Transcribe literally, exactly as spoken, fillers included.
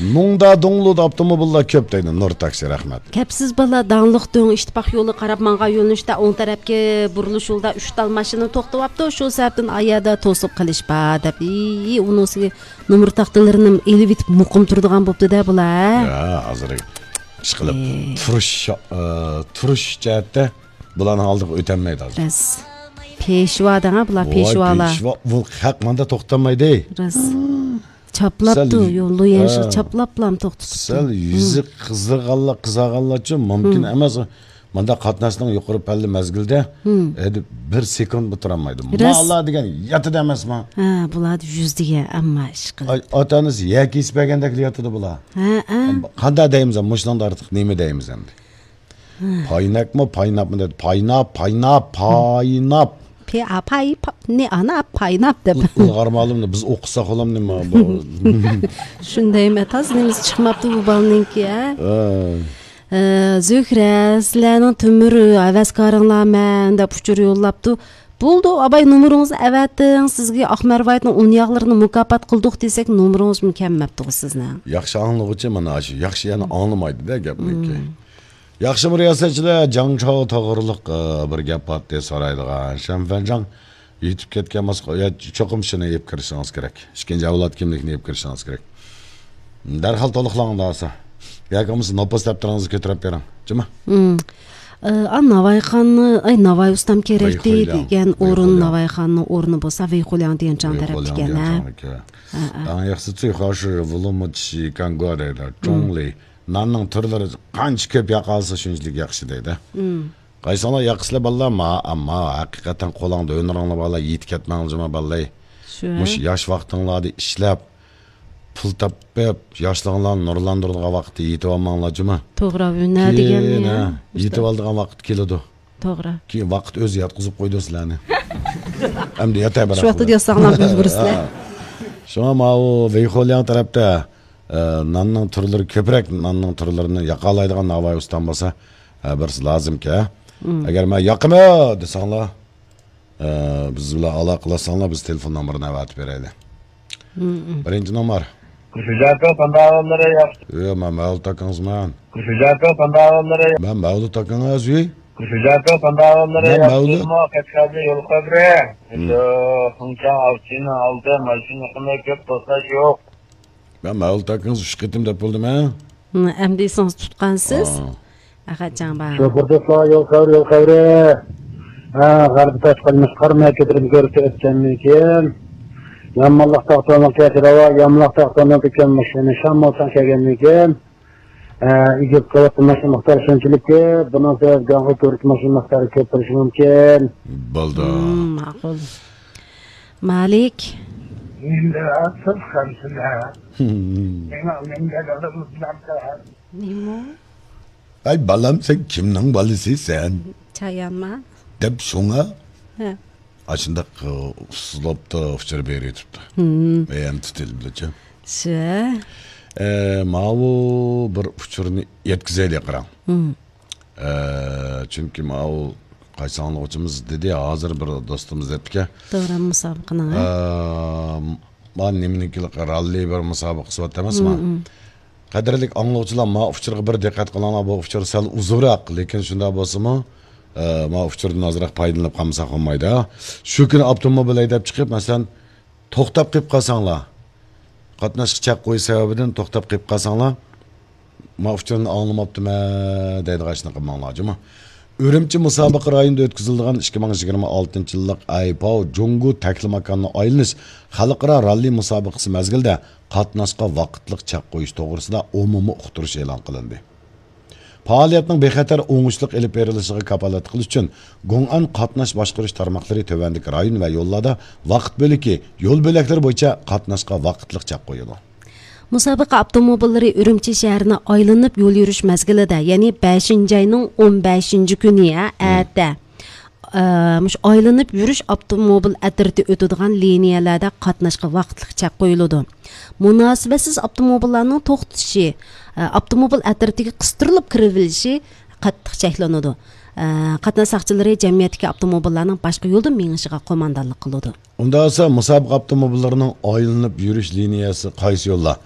مۇڭدا دۇڭلۇدا ئاپتوموبىللار كۆپ دەيدۇ، نۇر تاكسى، رەھمەت. كەپسىز بالا، داڭلىق دۆڭ ئىتتىپاق يولىغا قاراپ ماڭغان يۆنىلىشتە ئوڭ تەرەپكى بۇرۇلۇش يولىدا ئۈچ تال ماشىنا توختىۋاپتۇ. شۇ سەۋەبتىن ئايەردە توسۇپ قېلىش بار دەپ، ئى، ئۇنىڭ ئۈستىگە نومۇر تاختىلىرىنى ئېلىۋېتىپ مۇقىم تۇرىدىغان بوپتۇ-دە بۇلار. يا، ھازىر ئىشقىلىپ ئى. تۇرۇش، ئە، تۇرۇش جەھەتتە بۇلارنىڭ ئالدىغا ئۆتەلمەيدۇ ھازىر. راست. پېشۋا دەڭە بۇلار، ۋاي، پېشۋالار. پېشۋا، بۇ خەق ماندا توختالمايدۇ. راست. چاپلاپتۇ، سەل يول، لۇيەن ھە. چاپلاپلام توختىتىپتۇ. سەل يۈزى قىزىغانلار، قىزارغانلارچۇ مۇمكىن ئەمەس. ماندا قاتناشنىڭ يۇقىرى پەللى مەزگىلدە، ھەدە بىر سېكۇنتمۇ تۇرالمايدۇ. راست. مالا دېگەن ياتىدۇ ئەمەسما؟ ھە، بۇلاردا يۈز دېگەن ئەمما ئىشقىلىپ. ئاي، ئاتا-ئانىسى يەر كېسىپ بەرگەندەكلا ياتىدۇ بۇلار. ھە، ھە. قانداق دەيمىز، مۇشۇنىڭدا ئارتۇق نېمە دەيمىز ئەمدى؟ پاينەكمۇ، پايناپمۇ دەيدۇ. پايناپ، پايناپ، پايناپ. پې-، ئا-، پاي-، پا-، نې-، ئانا، پايناپ دەپ. ئۇ-، ئۇلغارمالىمنى بىز ئوقۇساق بولامدۇ نېمە بۇ؟ شۇندايمۇ تازا نېمىسى چىقماپتۇ بۇ بالىنىڭكى، ھە؟ ئە. ئە، زۆھرە، سىلەرنىڭ تۆمۈر ھەۋەسكارىڭلار مەن دەپ ئۇچۇر يوللاپتۇ. بولدى، ئاباي، نومۇرىڭىزنى ئەۋەتىڭ، سىزگە ئاق مەرۋايىتنىڭ ئۇن ياغلىرىنى مۇكاپات قىلدۇق دېسەك، نومۇرىڭىزمۇ كەلمەپتىغۇ سىزنىڭ. ياخشى ئاڭلىغۇچى مانا ئاشۇ، ياخشى يەنە ئاڭلىمايدۇ-دە گەپنىكى. مم. ياخشىمۇ رىياسەتچىلەر، جاڭ چاۋ توغرۇلۇق، ئە، بىر گەپ بارتى سورايدىغان. شەنفەنجاڭ يېتىپ كەتكەن ماسقا، يا، چوقۇم شۇنى ئېلىپ كىرىشىڭىز كېرەك. ئىككىنچى ئەۋلاد كىملىكىنى ئېلىپ كىرىشىڭىز كېرەك. دەرھال تولۇقلاڭ ئۇنداق بولسا. ياكى بولمىسا نوپۇس دەپتىرىڭىزنى كۆتۈرۈپ بېرىڭ. جۇمۇ؟ مم. ئە، ئا، ناۋايخاننى، ئاي، ناۋاي ئۇستام كېرەكتى ۋەيخۇيلياڭ، دېگەن ئورۇن، ۋەيخۇيلياڭ. ناۋايخاننىڭ ئورنى بولسا ۋەيخۇيلياڭ دىيەنچاڭ تەرەپتىكەن، ھە؟ ۋەيخۇيلياڭ دىيەنچاڭ. ھە، ھە. ئەڭ ياخشىسى چۈيخۇاشى ۋۇلۇمۇچى كانگۇا دەيدۇ. مم. چوڭلى. ناننىڭ تۈرلىرى قانچە كۆپ ياقالسا شۇنچىلىك ياخشى دەيدۇ. مم. قايسىڭلار ياقىسىلەر بالىلار؟ ما، ئەمما ھەقىقەتەن قولۇڭدا ھۈنىرىڭلار بالىلار، يېتىپ كەتمەڭلار جۇما بالىلار. شۇ. مۇشۇ ياش ۋاقتىڭلاردا ئىشلەپ، پۇل تاپىپ، ياشلىقىڭلارنى نۇرلاندۇرىدىغان ۋاقىتتا يېتىۋالماڭلار جۇما. توغرا، ھۈنەر دېگەن كېيىن، يا، ھە، ئۇستا. يېتىۋالىدىغان ۋاقىت كېلىدۇ. توغرا. كېيىن ۋاقىت ئۆزى ياتقۇزۇپ قويىدۇ سىلەرنى. ئەمدى ياتاي شۇ ۋاقىتتا ياتساڭلار بىز بۇرسىلەر. شۇڭا ماۋۇ ۋېيخولياڭ تەرەپتە، ئە، ناننىڭ تۈرلىرى كۆپرەك، ناننىڭ تۈرلىرىنى ياقالايدىغان ناۋاي ئۇستام بولسا، ھە، بىرسى لازىمكەن. مم. ئەگەر مەن ياقىمەن دېسەڭلار، ئە، بىز بىلەن ئالاقىلەشسەڭلار، بىز تېلېفون نومۇرىنى ئەۋەتىپ بېرەيلى. مم، مم. بىرىنچى نومۇر. كۈچۈجاكا پانداۋاللىرى ياخشى. يو، مەن مەۋلۇت ئاكىڭىزمەن. كۈچۈجاكا پانداۋاللىرى. مەن مەۋلۇت ئاكىڭىز، يۇي. كۈچۈجاكا پانداۋاللىرى مەن ياخشى. مەۋلۇت. مۇ قەشقەردە يول قەبرە. مم. شۇ خۇڭچاڭ ئاۋچىنىڭ ئالدى ماشىنا يېقىندا كۆپ توساش يوق. مەن مەۋلۇت ئاكىڭىز ئۈچ قېتىم دەپ بولدۇم، ھە؟ ھە، ئەمدى ئېسىڭىزدە تۇتقانسىز. ئا. ئەخەتجان بار. شوپۇر دوستلار، يول خەۋىرى، يول خەۋىرى. ھە، غەربىي تاشقىلىمىز قارماي كۆتۈرۈپ كۆرۈپ ئۆتكەندىن كېيىن، يامانلىق تاختونىڭ كەچۈرۈۋا، يامانلىق تاختونىڭ دۈكان ماشىنا شام بولساڭ كەلگەندىن كېيىن، ھە، ئىگىپ قىلىپ ماشىنا مىقدارى شۇنچىلىككى، بۇنىڭ سەۋەبىدىن ئۇ كۆرۈپ ماشىنا مىقدارى كۆپ بولۇشى مۇمكىن. بولدى. مم، ماقۇل. مالىك. مەندە ئاتسىز قامسىلە. مېنىڭ مەندە دادام نېمە؟ ئەي بالام، سەن كىمنىڭ بالىسى سەن؟ چايانما؟ دەپ شۇڭا ھە. ئاشۇنداق، ئۇ، ئۇسلۇبتا ئۇچۇر بېرىۋېتىپتۇ. ھىم. يەنە تۇتۇلدىچۇ. شۇ. ئە، ماۋۇ بىر ئۇچۇرنى يەتكۈزەيلى قاراڭ. ھىم. ئە، چۈنكى ماۋۇ قايسى ئاڭلىغۇچىمىز دېدى، ھازىر بىر دوستىمىز دەپتىكەن. دوران مۇسابىقىنىڭ، ھە؟ ئە، ما نېمىنىڭكى راللى بىر مۇسابىقىسى بار ئەمەسما؟ ھىم، ھىم. قەدىرلىك ئاڭلىغۇچىلار، ما ئۇچۇرغا بىر دىققەت قىلىڭلار، بۇ ئۇچۇر سەل ئۇزۇنراق، لېكىن شۇنداق بولسىمۇ، ئە، ما ئۇچۇردىن ئازراق پايدىلىنىپ قالمىساق بولمايدۇ. شۇ كۈنى ئاپتوموبىل ھەيدەپ چىقىپ، مەسىلەن، توختاپ قېلىپ قالساڭلار، قاتناشقا چەك قويۇش سەۋەبىدىن توختاپ قېلىپ قالساڭلار، ما ئۇچۇرنى ئاڭلىماپتىمەن دەيدىغان ئىشنى قىلماڭلار، جۇمۇ. ئۈرۈمچى مۇسابىقە رايونىدا ئۆتكۈزۈلىدىغان ئىككى مىڭ يىگىرمە ئالتىنچى يىللىق ئايپاۋ جۇڭگو تەكلىماكاننى ئايلىنىش خەلقئارا راللى مۇسابىقىسى مەزگىلىدە قاتناشقا ۋاقىتلىق چەك قويۇش توغرىسىدا ئومۇمىي ئۇقتۇرۇش ئېلان قىلىندى. پائالىيەتنىڭ بىخەتەر، ئوڭۇشلۇق ئېلىپ بېرىلىشىغا كاپالەتلىك قىلىش ئۈچۈن، گۇڭئەن قاتناش باشقۇرۇش تارماقلىرى تۆۋەندىكى رايون ۋە يوللاردا ۋاقىت بۆلىكى، يول بۆلەكلىرى بويىچە قاتناشقا ۋاقىتلىق چەك قويىدۇ. مۇسابىقە ئاپتوموبىللىرى ئۈرۈمچى شەھىرىنى ئايلىنىپ يول يۈرۈش مەزگىلىدە، يەنى بەشىنچى ئاينىڭ ئون بەشىنچى كۈنى، ھە، مم. ئەتە، ئە، مۇشۇ ئايلىنىپ يۈرۈش ئاپتوموبىل ئەترىتى ئۆتىدىغان لىنىيەلەردە قاتناشقا ۋاقىتلىق چەك قويۇلىدۇ. مۇناسىۋەتسىز ئاپتوموبىللارنىڭ توختىشى، ئە، ئاپتوموبىل ئەترىتىگە قىستۇرۇلۇپ كىرىۋېلىشى قاتتىق چەكلىنىدۇ. ئە، قاتناش ساقچىلىرى جەمئىيەتتىكى ئاپتوموبىللارنىڭ باشقا يولدا مېڭىشىغا قوماندانلىق قىلىدۇ. ئۇنداق بولسا، مۇسابىقە ئاپتوموبىللىرىنىڭ ئايلىنىپ يۈرۈش لىنىيەسى قايسى يوللار؟